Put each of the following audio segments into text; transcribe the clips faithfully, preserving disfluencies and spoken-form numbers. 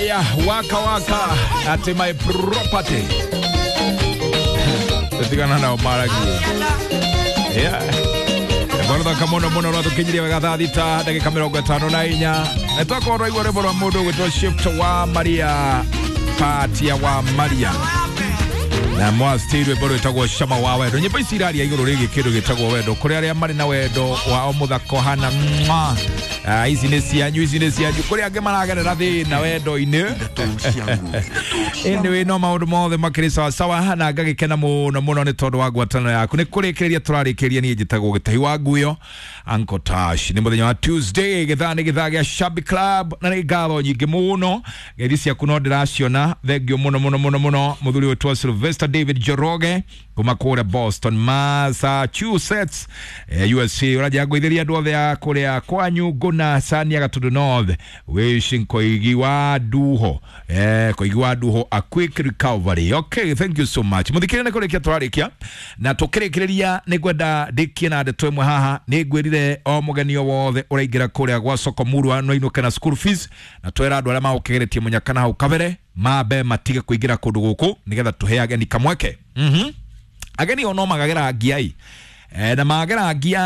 Aya, waka waka at my property. Tutigana nao maragi. Yeah. Bwana kamono mono rwatũkinyirie wega thaa thita ndagĩka mĩrongo ĩtano na inya na twakorwo twaigua rwĩmbo rwa mũndũ ũgwĩtwo Shift wa Maria Patia wa Maria na mwasti rwĩmbo rwĩtagwo Cama wa Wendo. Nyĩmbo ici iraria igũrũ rĩgiĩ kĩndũ gĩtagwo wendo kũrĩ arĩa marĩ na wendo wao mũthako hana mwa. Ah, ici nĩ cianyu, ici nĩ cianyu kũrĩ angĩ maragerera thĩna wendo-inĩ. Anyway, no maũndũ mothe makĩrĩ sawa sawa na ngagĩkena mũno mũno nĩ tondũ wa ngwatanĩro yaku. Nĩ kũrĩkĩrĩria tũrarĩkĩrĩria niĩ njĩtagwo Gĩtahi wa Nguyo Uncle Tash. Nĩ mũthenya wa Tuesday, gĩthaa nĩ gĩthaa gĩa Shabby Club na nĩ ngatho nyingĩ mũno ngeithi ciaku no ndĩraciona. Thengio mũno mũno mũno mũno mũthuri witũ Sylvester David Njoroge kuma kũrĩa Boston, Massachusetts, eh, U S A. Ũranjia ngũithĩria andũ othe a kũrĩa kwanyu Ngũna Sania Gatundu North wishing Koigi wa Duho, eh, Koigi wa Duho a quick recovery. Okay, thank you so much. Muthikĩrĩria nĩ kũrĩkia tũrarĩkia na tũkĩrĩkĩrĩria nĩ ngwenda ndĩkie na ndeto ĩmwe haha. Nĩ ngwĩrire o mũgeni o wothe ũraingĩra kũrĩa gwa soko murwa no inũke na school fees na twĩra andũ arĩa magũkĩgeretie mũnyaka na hau kabere mambe matige kũingĩra kũndũ gũkũ nĩgetha tũhe ageni kamweke. Mhm. Ageni ono magagera ngiai eh, na magagera ngia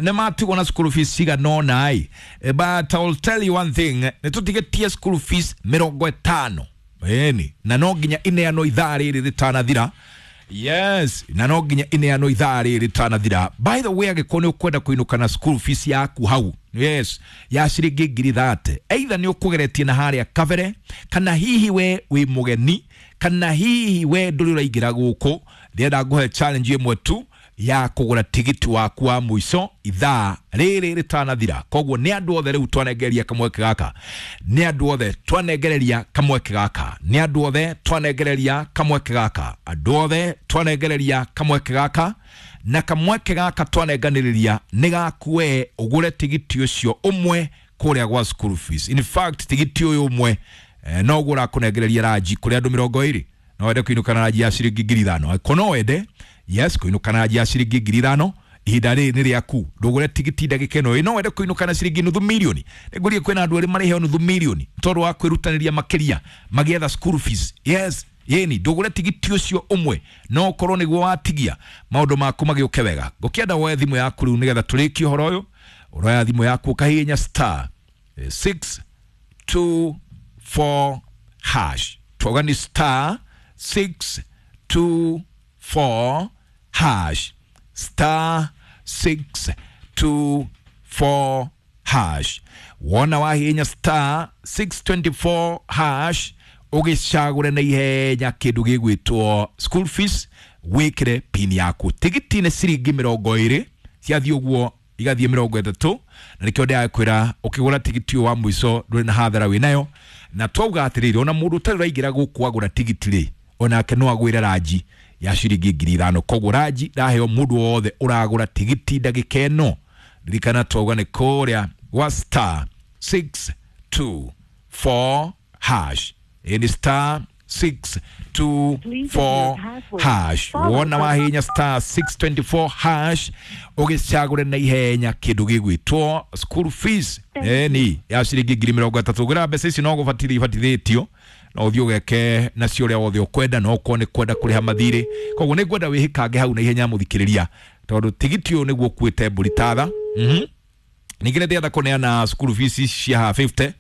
nĩ matigwo na school fees cigana ũna ĩ. But I will tell you one thing, nĩ tũtigĩtie school fees mĩrongo ĩtano ĩni na no nginya ineanwo ithaa rĩrĩ rĩtanathira. Yes, na no nginya ineanwo ithaa rĩrĩ rĩtanathira. By the way, angĩkorwo nĩ ũkwenda kũinũka na school fees yaku hau, yes, ya ciringi ngiri thate, either nĩ ũkũgeretie na harĩa kabere kana hihi we wĩ mũgeni kana hihi we ndũrĩ ũraingĩra gũkũ, ndĩrenda ngũhe challenge ĩmwe tu ya kũgũra tigiti waku wa mũico ithaa rĩrĩ rĩtanathira. Koguo nĩ andũ othe rĩu twanengereria kamweke gaka, nĩ andũ othe twanengereria kamweke gaka, nĩ andũ othe twanengereria kamweke gaka, andũ othe twanengereria kamweke gaka na kamweke gaka twanenganĩrĩria nĩ gaku we ũgũre tigiti ũcio ũmwe kũrĩa gwa school fees. In fact, tigiti ũyũ ũmwe eh, no ũguo ũrakũnengereria ranji kũrĩ andũ mĩrongo ĩrĩ. No wende kũinũka na ranji ya ciringi ngiri ithano. Angĩkorwo no wende, yes, kũinũka na ranji ya ciringi ngiri ithano ihinda rĩrĩ nĩ rĩaku. Ndũgũre tigiti ndagĩka ĩno. No wende kũinũka na ciringi nuthu mirioni. Nĩngũrie kwĩna andũ erĩ marĩheo nuthu mirioni tondũ wa kwĩrutanĩria makĩria magĩetha school fees. Yes, yeni ndũgũre tigiti ũcio ũmwe no ũkorwo nĩguo watigia maũndũ maku magĩũke wega. Ngũkĩenda woe thimũ yaku rĩu nĩgetha tũrĩkie ũhoro ũyũ. Ũroya thimũ yaku ũkahihinya star six two four hash. Twauga nĩ star six two four hash, star six two four hash. Wona wahihinya star six twenty-four hash ũgĩcagũre na ihenya kĩndũ gĩgwĩtwo school fees, wĩkĩre pin yaku. Tigiti nĩ ciringi mĩrongo ĩrĩ ciathiĩ ũguo igathiĩ mĩrongo ĩtatũ na nĩkĩo ndĩrakwĩra ũkĩgũra tigiti ũyũ wa mũico ndũrĩ na hathara wĩnayo. Na twauga atĩrĩrĩ, ona mũndũ ũtarĩ ũraingĩra gũkũ agũra tigiti rĩ, onake no agwĩre ranji ya ciringi ngiri ithano. Koguo ranji ndaheo mũndũ wothe ũragũra tigiti ndagĩka ĩno. Ririkana twauga nĩ kũrĩa gwa star six two four hash. Ĩni star six two four hash. Wona wahinya star six twenty-four hash ũgĩcagũre na ihenya kĩndũ gĩgwĩtwo school fees ĩni ya ciringi ngiri mĩrongo ĩtatũ. Ũgĩra mbeca ici no gũbatithio ibatithĩtio no ũthiĩ ũgeke nacio ũrĩa wothe ũkwenda, no ũkorwo nĩ kwenda kũrĩha mathirĩ. Koguo nĩ ngwenda wĩhĩkange hau na ihenya mũthikĩrĩria tondũ tigiti ũyũ nĩguo ũkuĩte mbũri tatha. Mhm. Ningĩ nĩ ndĩrenda kũneana school fees cia fifty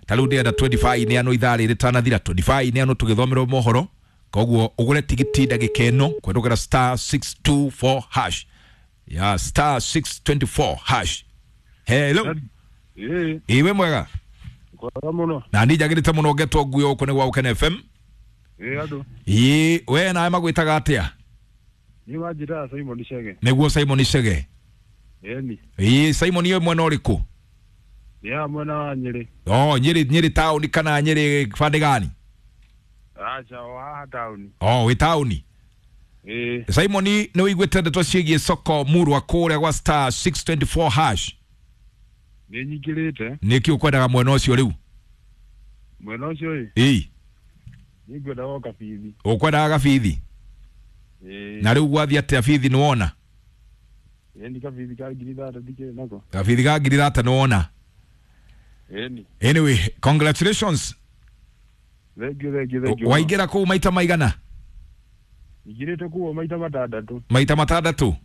ta rĩu ndĩrenda twenty-five neanwo ithaa rĩrĩ rĩtanathira, twenty-five neanwo tũgĩthomerwo mohoro. Koguo ũgũre tigiti ndagĩka ĩno kũhetũkĩra star six two four hash ya star six twenty-four hash. Hello. Ĩĩ. Iwe mwega? Kwega mũno. Na niĩ njagĩrĩte mũno ngetwo Nguyo gũkũ nĩ gwa Ũkene F M. Ĩĩ andũ. Ĩĩ, we nawe magwĩtaga atĩa? Niĩ wanjĩtaga Simon Chege. Nĩguo Simon Chege. Ĩni. Ĩĩ, Simon iwe mwena ũrĩkũ? Nĩ haha mwena wa Nyĩrĩ. Oh, Nyĩrĩ, Nyĩrĩ taũni kana Nyĩrĩ bande gani? Aca, o haha taũni. Oh, wĩ taũni. Ĩĩ. Simon nĩ ũiguĩte ndeto ciĩgiĩ soko murwa kũrĩa gwa star six twenty-four hash? Nĩ nyingĩrĩte. Nĩkĩ ũkwendaga mwena ũcio rĩu? Mwena ũcio ĩ? Ĩĩ. Nĩ ngwendaga o kabithi. Ũkwendaga kabithi? Ĩĩ. Na rĩu gwathiĩ atĩa bithi nĩ wona? Ĩni kabithi ka ngiri thate ndikĩrĩ nako. Kabithi ka ngiri thate nĩ wona? Ĩni. Anyway, congratulations. Thank you, thank you, thank you. Waingĩra kũu maita maigana? Ingĩrĩte kuo maita matandatũ. Maita matandatũ?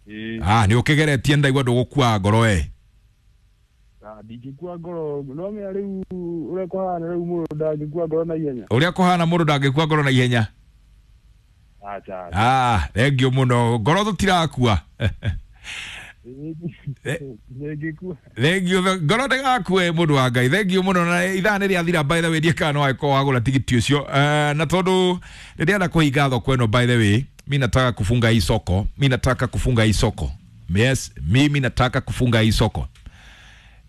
Ĩĩ. Ah, nĩ ũkĩgeretie, ndaigua ndũgũkua ngoro we. Ah, ndingĩkua ngoro, no menya rĩu ũrĩa kũhana rĩu mũndũ ndangĩkua ngoro na ihenya. Ũrĩa kũhana mũndũ ndangĩkua ngoro na ihenya. Acha. Ah, thengiũ mũno, ngoro tũtirakua. Ndingĩkua. Thengiũ, ngoro ndĩgakue mũndũ wa Ngai, thengiũ mũno. Na ithaa nĩ rĩathira, by the way, ndiĩ kana no angĩkorwo wagũra tigiti ũcio. Eh, na tondũ nĩndĩrenda kũhinga thoko ĩno, by the way, mi nataka kufunga hii soko, mi nataka kufunga hii soko, yes, mimi nataka kufunga hii soko.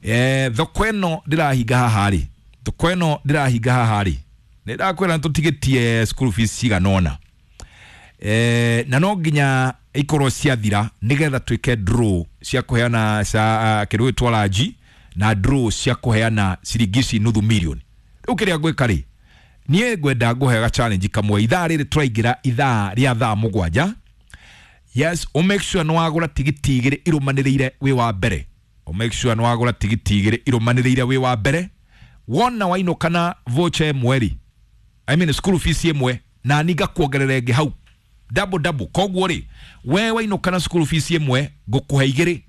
Eh, thoko ĩno ndĩrahinga haha rĩ, thoko ĩno ndĩrahinga haha rĩ, nĩ ndakwĩra nĩtũtigĩtie school fees cigana ũna, eh, na no nginya ikorwo ciathira nigetha twĩke draw cia kũheana cia kĩndũ gĩtwo ranji na draw cia kũheana ciringi ici nuthu milioni. Rĩu kĩrĩa ngwĩka rĩ, niĩ ngwenda ngũhe challenge kamwe. Ithaa rĩrĩ tũraingĩra ithaa rĩa thaa mũgwanja, yes, u make sure nĩ wagũra tigiti igĩrĩ irũmanĩrĩire wĩ wa mbere. U make sure nĩ wagũra tigiti igĩrĩ irũmanĩrĩire wĩ wa mbere. Wona wainũka na voucher ĩmwe rĩ, I mean school fees ĩmwe, na ni ngakuongerera ĩngĩ hau, double double. Koguo rĩ, we wainũka na school fees ĩmwe, ngũkũhe igĩrĩ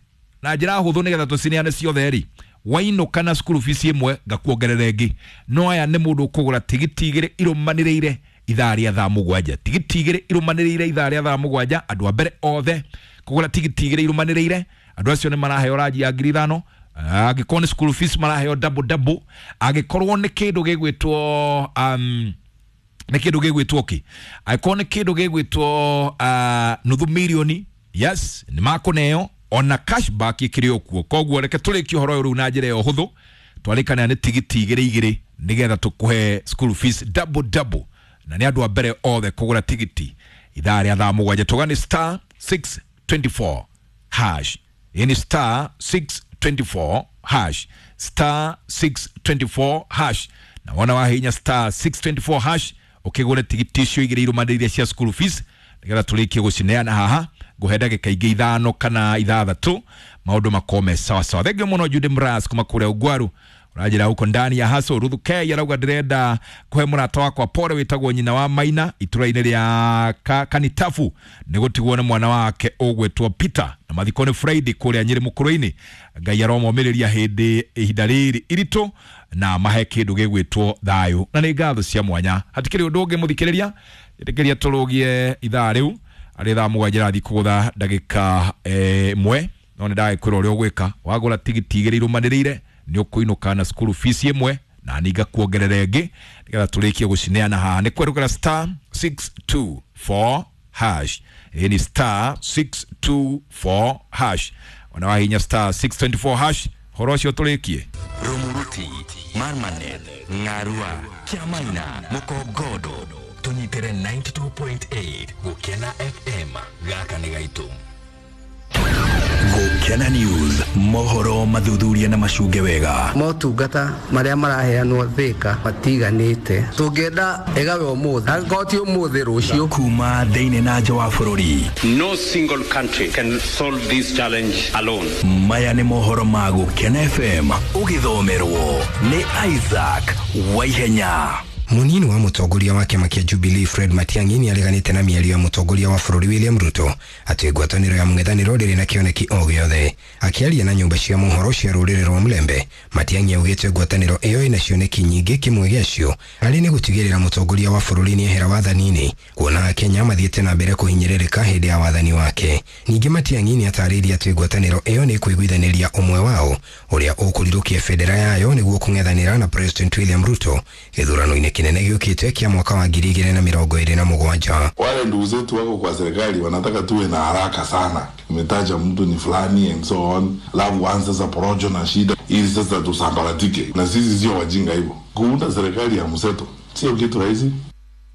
na njĩra hũthũ nĩgetha tũcineane ciothe rĩ. Wainũka na school fees ĩmwe, ngakuongerera ĩngĩ. No aya nĩ mũndũ ũkũgũra tigiti igĩrĩ irũmanĩrĩire ithaa rĩa thaa mũgwanja, tigiti igĩrĩ irũmanĩrĩire ithaa rĩa thaa mũgwanja. Andũ a mbere othe kũgũra tigiti igĩrĩ irũmanĩrĩire, andũ acio nĩ maraheo ranji ya ngiri ithano. Angĩkorwo nĩ school fees, maraheo double double. Angĩkorwo nĩ kĩndũ gĩgwĩtwo um, nĩ kĩndũ gĩgwĩtwo kĩ, angĩkorwo nĩ kĩndũ gĩgwĩtwo uh, nuthu milioni, yes, nĩ makũneo ona cashback ĩkĩrĩ o kuo. Koguo reke tũrĩkie ũhoro ũyũ rĩu na njĩra ĩyo hũthũ. Twarĩkana nĩ tigiti igĩrĩ igĩrĩ nĩgetha tũkũhe school fees double double, na nĩ andũ a mbere othe kũgũra tigiti ithaa rĩa thaa mũgwanja. Tuga nĩ star six twenty-four hash. Ĩ nĩ star six twenty-four hash, star six twenty-four hash. Na wona wahinya star six twenty-four hash, ũkĩgũre tigiti icio igĩrĩ irũmanĩrĩire cia school fees nĩgetha tũrĩkie gũcineana haha. Ngũhe ndagĩka ingĩ ithano kana ithathatũ, maũndũ makorwo me sawa sawa. Thengiũ mũno Judy Mras kuma kũrĩa Ugwaru, ũranjĩra huko ndani ya haso. Ruthu K arauga ndĩrenda kũhe mũrata wakwa pole wĩtagwo nyina wa Maina itũra-inĩ rĩa ka, Kanitafu nĩ gũtigwo nĩ mwana wake ũgwĩtwo Peter, na mathiko nĩ Friday kũrĩa Nyĩrĩ mũkũrũ-inĩ. Ngai aromomĩrĩria hĩndĩ ihinda rĩrĩ iritũ na mahe kĩndũ gĩgwĩtwo thayũ, na nĩ ngatho cia mwanya. Hatikĩrĩ ũndũ ũngĩ, mũthikĩrĩria, ĩtĩkĩria tũrũgie ithaa rĩu arĩ thaa mũgwanja rathiĩ kũgũtha ndagĩka ĩmwe. No nĩ ndagĩkwĩra ũrĩa ũgwĩka: wagũra tigiti igĩrĩ irũmanĩrĩire, nĩ ũkũinũka na school fees ĩmwe, na ni ngakuongerera ĩngĩ nĩgetha tũrĩkie gũcineana haha. Nĩ kwerũkĩra star six two four hash. Ĩ ni star six two four hash. Ona wahinya star six twenty-four hash, horo ũcio tũrĩkie. Rumuruti, Marmanet, Ng'arua, Kiamaina, Mukogodo, tũnyitĩre ninety-two point eight Gũkena F M. Gaka nĩ gaitũ. Gũkena News, mohoro mathuthuria na macunge wega. Motungata marĩa maraheanwo Thĩka matiganĩte, tũngĩenda ĩgawe ũmũthĩ, angĩkorwo ti ũmũthĩ, rũciũ. Kuma thĩinĩ na nja wa bũrũri. No single country can solve this challenge alone. Maya nĩ mohoro ma Gũkena F M, ũgĩthomerwo nĩ Isaac Waihenya. Munini wa mũtongoria wa kĩama kĩa Jubilee Fred Matiang'i nĩ areganĩte na mĩario ya mũtongoria wa bũrũri William Ruto atĩ ngwatanĩro ya mũng'ethanĩro ndĩrĩ na kĩoneki o gĩothe. Akĩaria na nyũmba cia mohoro cia rũrĩrĩ rwa Mulembe, Matiang'i augĩte ngwatanĩro ĩyo ĩna cioneki nyingĩ, kĩmwe gĩacio arĩ nĩ gũtigĩrĩra mũtongoria wa bũrũri nĩ ehera wathani-inĩ, kuona Akenya mathiĩte na mbere kũhinyĩrĩrĩka hĩndĩ ya wathani wake. Ningĩ Matiang'i nĩ atarĩirie atĩ ngwatanĩro ĩyo nĩ ĩkũiguithanĩria ũmwe wao ũrĩa ũkũrirũkia bendera yayo nĩguo kũng'ethanĩra na President William Ruto gĩthurano-inĩ kĩnene gĩũkĩte kĩa mwaka wa ngiri igĩrĩ na mĩrongo ĩrĩ na mũgwanja. Wale ndugu zetu wako kwa serikali wanataka tuwe na haraka sana, umetaja mtu ni fulani and so on, alafu waanze sasa porojo na shida ili sasa tusambaratike, na sisi sio wajinga hivyo. Kuunda serikali ya mseto sio kitu rahisi.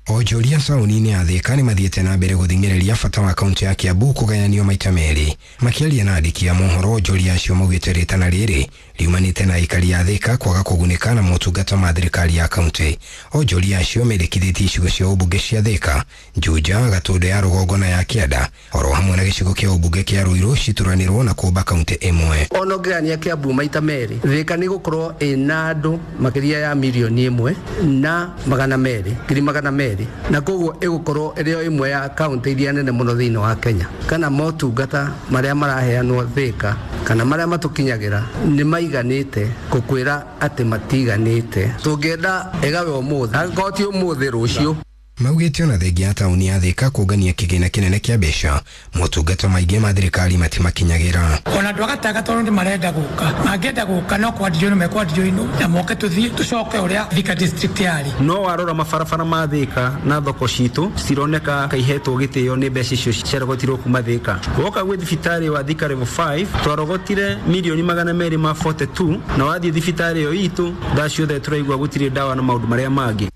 Onjoria taũni-inĩ ya Thika nĩ mathiĩte na mbere gũthing'ĩrĩria bata wa kaunti ya Kiambu kũgayanio maita merĩ. Makĩaria na andĩki a mohoro, onjoria acio maugĩte rĩtana rĩrĩ riumanĩte na aikari a Thika kwaga kũgunĩka na motungata ma thirikari ya kaunti. Onjoria acio mendekithĩtie icigo cia ũmbunge cia Thika, Juja, Gatũndũ ya rũgongo na ya kĩanda oro hamwe na gĩcigo kĩa ũmbunge kĩa Ruiru cituranĩrwo na kũmba kaunti ĩmwe. Ona ũngĩgania Kiambu maita merĩ, Thika nĩ gũkorwo ĩna andũ makĩria ya mirioni ĩmwe na magana merĩ ngiri magana merĩ, na koguo ĩgũkorwo ĩrĩ o ĩmwe ya kaunti iria nene mũno thĩinĩ wa Kenya. Kana motungata marĩa maraheanwo Thika kana marĩa matũkinyagĩra nĩ maiganĩte gũkwĩra atĩ matiganĩte. Tũngĩenda ĩgawe ũmũthĩ, angĩkorwo ti ũmũthĩ, rũciũ. Maugĩte ona thengia ya taũni ya Thika kũngania kĩgĩna kĩnene kĩa mbeca, motungata maingĩ ma thirikari matimakinyagĩra. Ona andũ a gatagatĩ tondũ nĩ marenda gũka, mangĩenda gũka no kwandirio mekwandirio ino na moke tũthiĩ tũcoke ũrĩa Thika district yarĩ. No warora mabarabara ma Thika na thoko citũ cironeka kaihetwo gĩtĩo nĩ mbeca icio ciarogotirwo kuma Thika. Woka gwĩ thibitarĩ wa Thika level five twarogotire mirioni magana merĩ ma forty-two, na wathiĩ thibitarĩ ĩyo itũ thaa ciothe tũraigua gũtirĩ ndawa na maũndũ marĩa mangĩ.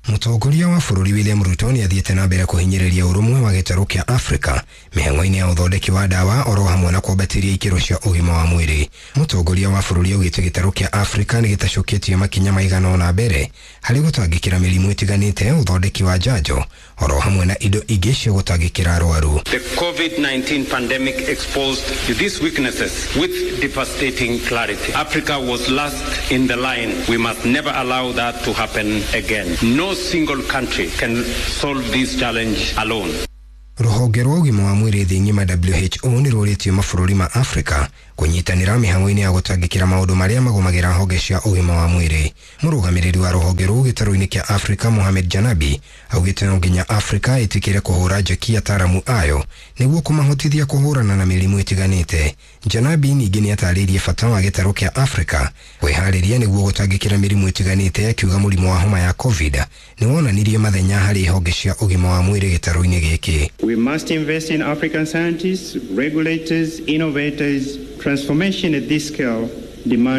Mũtongoria wa bũrũri William Ruto nĩ athiĩte na mbere kũhinyĩrĩria ũrũmwe wa gĩtarũ kĩa Afrika mĩhang'o-inĩ ya ũthondeki wa ndawa oro hamwe na kwambatĩria ikĩro cia ũgima wa mwĩrĩ. Mũtongoria wa bũrũri augĩte gĩtarũ kĩa Afrika nĩ gĩtacũkĩtie makinya maigana ũna mbere harĩ gũtangĩkĩra mĩrimũ ĩtiganĩte, ũthondeki wa njanjo oro hamwe na indo ingĩ cia gũtangĩkĩra arwaru. The COVID nineteen pandemic exposed these weaknesses with devastating clarity. Africa was last in the line. We must never allow that to happen again. No single country can solve this challenge alone. Rũhonge rwa ũgima wa mwĩrĩ thĩ ng'ima W H O nĩ rũrĩtie mabũrũri ma Afrika kũnyitanĩra mĩhang'o-inĩ ya gũtangĩkĩra maũndũ marĩa magũmagĩra honge cia ũgima wa mwĩrĩ. Mũrũgamĩrĩri wa rũhonge rũu gĩtarũ-inĩ kĩa Afrika Mohamed Janabi augĩte no nginya Afrika ĩtĩkĩre kũhũra njeki ataaramu ayo nĩguo kũmahotithia kũhũrana na mĩrimũ ĩtiganĩte. Janabi ningĩ nĩatarĩirie bata wa gĩtarũ kĩa Afrika kwĩharĩria nĩguo gũtangĩkĩra mĩrimũ ĩtiganĩte, akiuga mũrimũ wa homa ya COVID nĩwonanirie mathenya harĩ honge cia ũgima wa mwĩrĩ gĩtarũ-inĩ gĩkĩ. We must invest in African scientists, regulators, innovators. Transformation at this scale demands